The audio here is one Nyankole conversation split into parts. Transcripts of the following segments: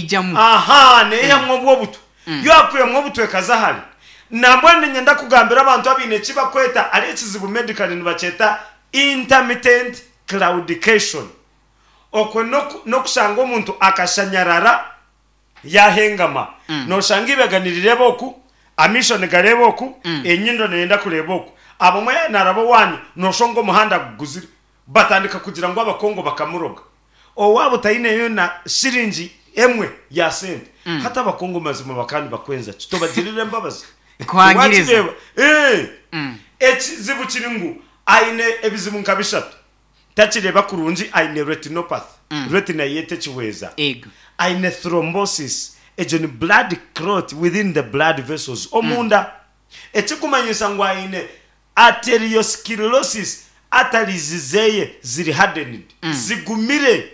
Neijamu. Ahaa, neyihamu obwo obutwa. Yo akwihamu obutwa ekaza hare. Nambwenu niinyenda kugambira abantu abaine eki bakweta hariho ekizibu medically nibakyeta intermittent claudication. Okwo n'okushanga omuntu akashanyarara yaahengama. Nooshanga eibega nirireeba oku, amaisho nigareeba oku, enyindo neeyenda kureeba oku. Abamwe yaaba naaraba owaanyu nooshanga omuhanda guguzire. Batandika kugira ngu Abakongo bakamuroga. Owaabo taineyo na shiringi emwe ya sente. Hati Abakongo mazima bakaba nibakwenza ki? Tobagirira embabazi? Kuhangiriza. Wakireeba? Ee. Ekizibu kiri ngu aine ebizibu nka bishatu. Takireeba kurungi, aine retinopathy, retina ye tekihweza. Ego. Aine thrombosis, egyo ni blood clot within the blood vessels, omunda. Ekikumanyisa ngu aine Arteriosclerosis, arteries zeye ziri hardened, zigumire.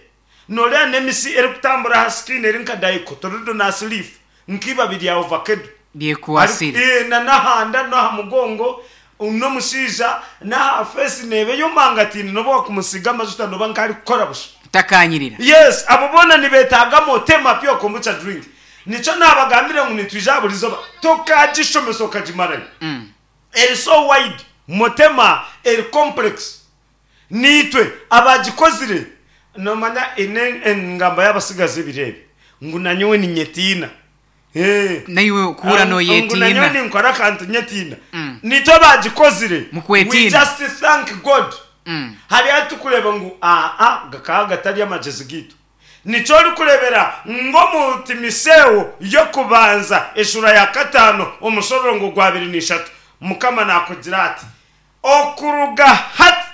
Noreeba n'emisi erikutambura aha skin eri nka dicotyledonous leaf, nk'ibabi rya ovacado. Byekwasire. Ari, na n'aha nda n'aha mugongo, n'omushaija n'aha face neeba eyomangataine n'obu wakumusiiga amajuta nooba nk'arikukora busha. Takanyirira. Yes, abo boona nibeetaaga Motema Pure Kombucha Drink. Nikyo naabagambire ngu nitwija aha buri izooba tokagishomesa okagimarayo. Eri so wide, Motema eri complex. Niitwe abaagikozire. Noomanya eine engamba y'abatsigazi ebiro ebi ngu nanyowe ninyetiina. Ee. Naiwe okuhurira Ngu noyetiina. nanyowe ninkora akantu nyetiina. Niitwe abaagikozire. We Mukwetiina. just thank God. Hariho ahu turikureeba ngu aa gakaba gatari amagyezi gaitu. Nikyo orikureebera ngu omu Timotheo y'okubanza eshuura ya kataano omushororongo gw'abiri n'ishatu, Mukama naakugira ati, Okuruga hati,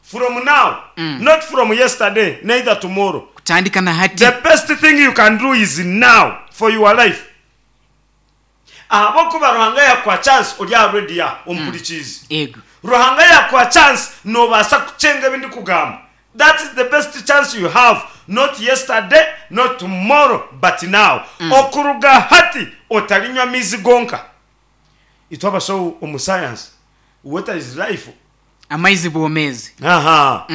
from now, not from yesterday neither tomorrow, Kutandika na hati. the best thing you can do is now for your life. Ahabw'okuba Ruhanga yaakuha chance ori aha radio aha ompurikiize. Yego. Ruhanga yaakuha chance noobaasa kukyenga ebi ndikugamba. That is the best chance you have not yesterday, not tomorrow but now. Okuruga hati otarinywa amaizi gonka. Itwe abashaho omu science, water is life. Amaizi bwomeezi. Aha.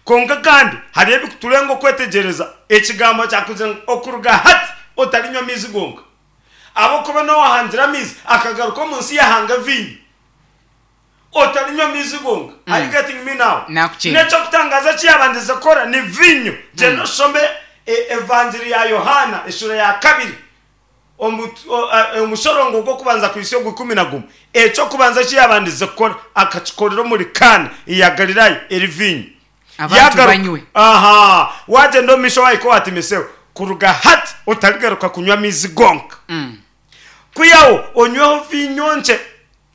Kwonka kandi hariho ebikuturenga okwetegyereza ekigambo kyakugira ngu okuruga hati otarinywa amaizi gonka. Ahabw'okuba n'owahangire amaizi akagaruka omu nsi yahanga viinyo. Otarinywa maizi gonka. Are you getting me now? Nakukyenda. N'eky'okutangaaza eki yaabandize kukora ni viinyo. Gyenda oshome Evangiri ya Yohaana eshuura ya kabiri omushorongo gw'okubanza kuhitsya ogw'ikumi na gumwe. Eky'okubanza eki yaabandize kukora akakikorera omuri Kaana eya Galilaaya eri viinyo. Abantu Yaagaruka, banywe. aha, waagyenda omu maisho waahika owa Timoseo, kuruga hati otarigaruka kunywa maizi gonka. Kwihaho onyweho viinyo nkye,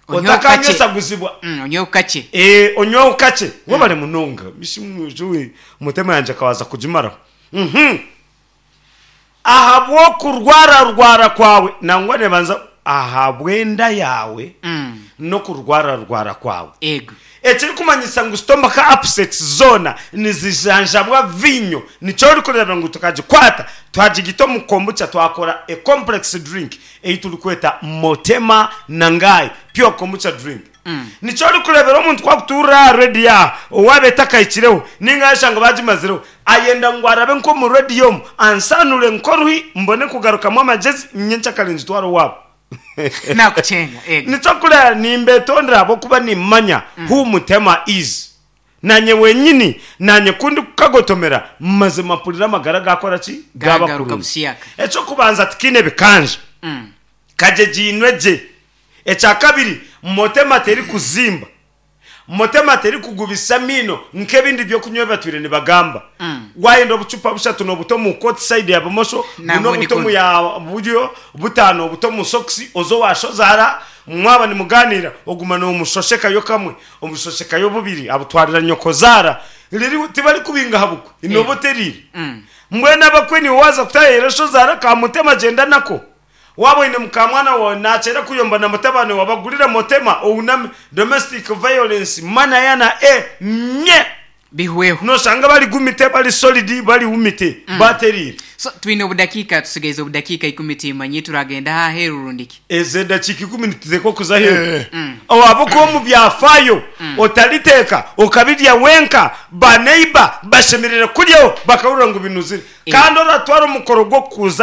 Onyweho kakye. otakanywesaguzibwa. Onyweho kakye. Ee, onyweho kakye. Webare munonga. Mishi mwija we, mutema yangye akabaasa kugimaraho. Mhm. Ahabw'okurwararwara kwawe, nangwa neebanza ahabw'enda yaawe n'okurwararwara kwawe. Ego. Ekirikumanyisa ngu stomach upsets zoona nizijanjabwa viinyo. Nikyo orikureeba ngu tukagikwata twagigita omu kombucha twakora a complex drink ei turikweta Motema Nangai Pure Kombucha Drink. Nikyo orikureebera omuntu ku akutuurira aha rediyo aha owaaba etakahikireho nainga yashanga baagimazireho ayenda ngu arabe nk'omu rediyo omu ansaanure nk'oruhi mbone kugarukamu amagyezi nyenkyakare ngitware owaabo. Naakukyenga, ego. Nikyo kureba nimbetondera ahabw'okuba nimmanya who Mutema is. Naanye wenyini, naanye ku ndikukagotomera, mazima mpurira amagara gaakora ki? Gaaba Gaagaruka kurungi. busiyaka. Eky'okubanza tikiine bikanja. Kagyegiinwe gye. Ekya kabiri, Motema terikuzimba. Motema terikugubisa amaino nk'ebindi by'okunywa ebi batwire nibagamba. Waayenda obucupa bushatu noobuta omu kooti sayidi ya bumosho, buna Nangwa obuta omu nikunu. ya buryo, butaano obuta omu sokisi, oze owa shozaara, mwaba nimugaaniira oguma noomushoshekayo kamwe, omushoshekayo bubiri, abutwarira nyokozaara. Riri tibarikubinga aha bukwe, nooba oteriire. Mbwenu abakwe niiwe waaza kutaayaayira shozaara ka Mutema gyenda nako. Waaba oine mukaamwana waawe naakyera kuyomba na mutabani waawe, bagurire Motema ouname, Domestic violence, mana yana e mye! Bihweho. Noshanga bari gumite, bari solid, bari wumite, bateriire. So twine obudakiika, tusigaize obudakiika ikumi timanye turagenda aha aheeru rundi ki? Ezo edakiika ikumi nituteekwa kuza aheeru. Ahabw'okuba omu byafaayo otariteeka okabirya wenka, ba neighbour bashemereire kuryaho bakahurira ngu binuzire. Kandi oratwara omukoro gw'okuza.